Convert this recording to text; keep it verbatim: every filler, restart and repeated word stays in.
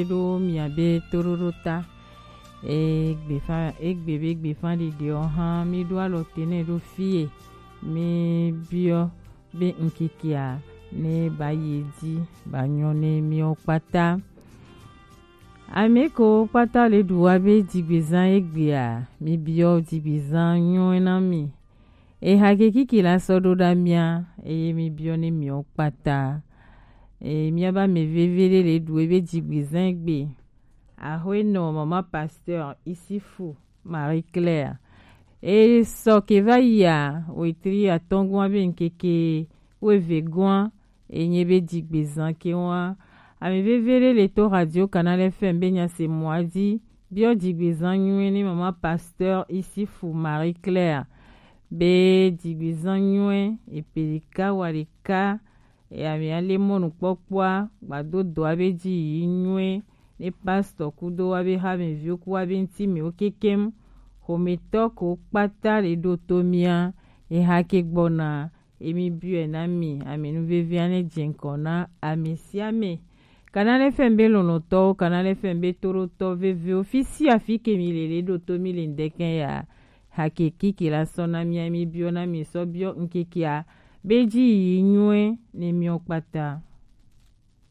ɖo miabe toɖoɖo ta. Egbefa egbe be gbefa ɖiɖiɔ hã mi ɖo alɔ te nɛ ɖo fie. Mi biɔ be ŋkekea ne ba yi edzi ba nyɔ ne miɔ kpata. Ame ko kpata le ɖu wa be dzigbezã egbea, mi biɔ dzigbezã nyɔe na mi. Eha ke kiki la sɔ ɖo ɖa mia, eye mi biɔ ne miɔ kpata. Eye miaba me veve ɖe le ɖu ebe dzigbezã egbe. Ahoenɔ mama pasteur Isifu Marie Claire. E sɔ ke va yia wetri atɔngua be ŋkeke weve gɔa enye be dzigbezã ke wa. Ame veve ɖe le to radio Canal F M be nya se mɔa dzi biɔ dzigbezã nyuie ne mama pasteur Isifu Marie Claire be dzigbezã nyuie epe ɖeka wa ɖeka. Ame ale mɔnukpɔkpɔa gbado dɔa be dzi yi nyuie ne pastor kudo wa be hameviwo ku wa be ŋti mewo kekem. Xometɔ ko kpata le ɖo to mia eha ke gbɔna. Emi biɔe na mi ame nu vevia ne dze ŋkɔ na ame sia ame. Canal F M be lɔlɔtɔwo, Canal F M be toɖotɔ vevewo, fi sia fi ke mi le le ɖo to mi le ŋdɛkɛ ya. Hake kiki la sɔ na mia mi biɔ na mi sɔ biɔ ŋkekea be dzi yi nyuie ne miɔ kpata.